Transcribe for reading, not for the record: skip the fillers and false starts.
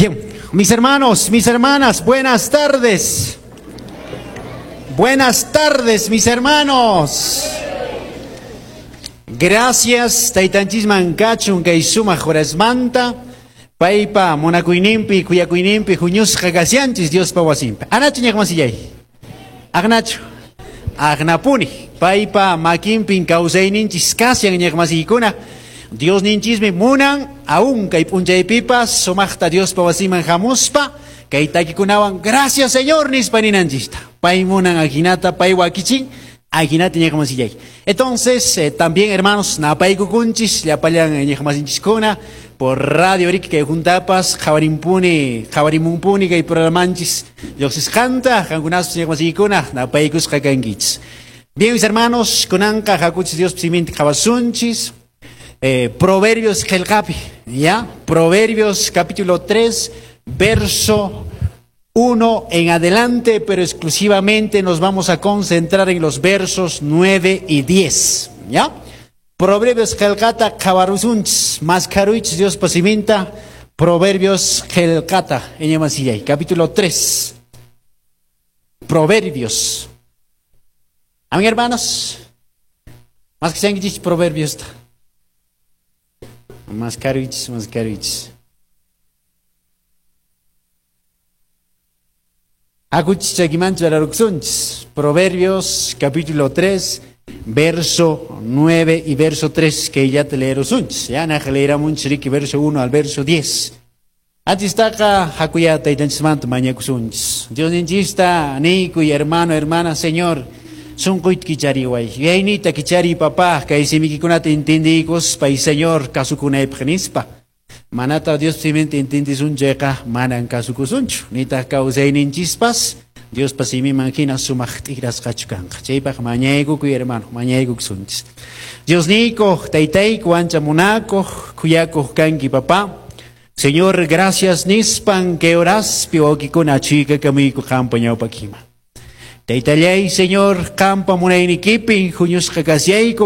Bien, mis hermanos, mis hermanas, buenas tardes. Buenas tardes, mis hermanos. Gracias, taytanchisman kachun kay sumaq horasmanta. Paypa munakuyninpi, khuyakuyninpi, huñusqa kashanchis Diospa wasinpi. Anachu ñaqmasillay? Aqnachu? Aqnapuni. Paypa makinpin kawsayninchis kashan ñaqmasiykuna. Diosninchismi munan aún kay p'unchaypipas sumaqta Diospa wasiman hamuspa kay takikunawan gracias Señor nispa ninanchista. Pay munan ajinata, pay wakichin ajinata ñaqmasillay. Entonces, también hermanos, napaykukunchis llapallan ñaqmasinchiskuna por radio riki kay juntapas qhawarimpuni, qhawarimunpuni kay programanchis lluqsisqanta qankunaspas ñaqmasiykuna napaykusqa kankichis. Bien, mis hermanos, kunanqa hakuchis Diospa siminta qhawasunchis. Proverbios qillqapi, ¿ya? Proverbios capítulo 3, verso 1 en adelante, pero exclusivamente nos vamos a concentrar en los versos 9 y 10, ¿ya? Proverbios qillqata qhawarusunchis, maskharuychis Diospa siminta, Proverbios qillqata, iñamasillay, capítulo 3. Proverbios. Amén, hermanos. Más que sean Proverbios. Mascaruichis, mascaruichis. Hakuchis chakimanchu araruksunchis. Proverbios capítulo 3, verso 9 y verso 3, que ya te leerosunchis. Ya naja leeramunchis riki verso 1 al verso 10. Antistaqa hakuya taytanchismanta mañakusunchis. Diosninchista niykuy hermano, hermana, Señor, sunquyta kichariway. Yuyayniyta kichariy papá, kay simikikunata entendiykuspa y Señor kasukunaypaq nispa. Manata Dios siminta entiendisun chayqa manan kasukusunchu. Nitaq kawsayninchispas Diospa simiman hina sumaq t'ikrasqachu kanqa. Chaypaq mañaykukuy hermano, mañaykukusunchis. Diosniykuq, taytayku, ancha munakuq, khuyakuq kanki papá. Señor, gracias nispan que horaspi wawqikuna achuykakamuyku qampa ñawpakima. Taytallay, Señor, qampa munaynikipi huñusqa kasyayku.